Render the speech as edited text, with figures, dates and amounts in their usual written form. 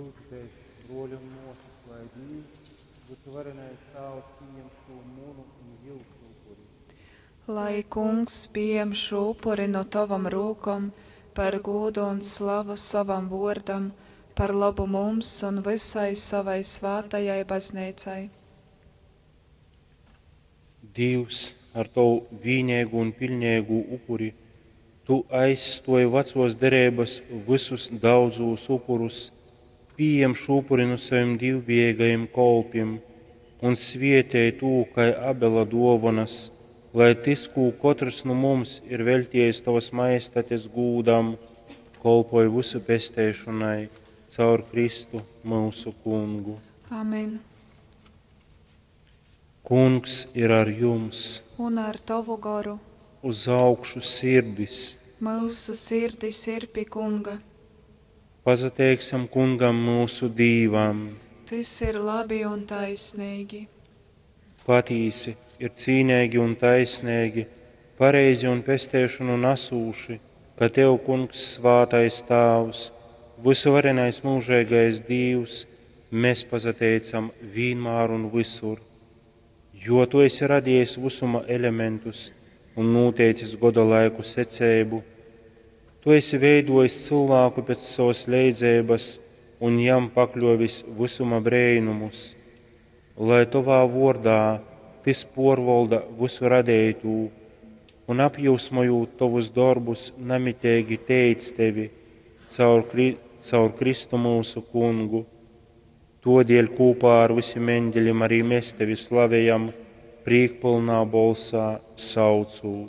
Lyudzitēs, bruoļi un muosys, lai Dīvs, Vysuvarenais Tāvs, pījem šū munu un jyusu upuri. Lai Kungs piejem šo upuri no tavam rūkom par gūdu un slavu savam vuordam, par labu mums un visai savai svātajai baznīcai. Dīvs, ar tovu vīneigū un piļneigū upuri, tu aizstuoji vacuos dereibys vysus daudzūs upurus, pījem šū upuri nu sovim dīvbijeigajim kolpim un svietej tū kai Abela duovonys, lai tys, kū kotrs nu mums ir veļtiejis tovys majestates gūdam, kolpoj vysu pesteišonai caur Kristu myusu Kungu. Amen. Kungs ir ar jums! Un ar tavu goru. Uz augšu sirdis! Myusu sirdis ir pi Kunga. Pasateiksim Kungam myusu Dīvam! Tys ir labi un taisnīgi. Patīsi, ir cīneigi un taisneigi, pareizi un pesteišonu nasūši, ka Tev, Kungs, svātais Tāvs, vysuvarenais myužeigais Dīvs, mēs pasateicam vīnmār un vysur. Jo Tu esi radījis visuma elementus un noteicis goda laiku seceibu, Tu esi veidojis cilvēku pēc savas leidzeibas un jam pakļovis visuma breinumus, lai Tovā vordā tys porvolda visu radeitū un apjūsmojūt Tovus dorbus namiteigi teic Tevi caur, Kri caur Kristu mūsu Kungu. Todēļ kopā ar visiem eņģeļiem arī mēs Tevi slavējam, prīkpilnā bolsā saucūt.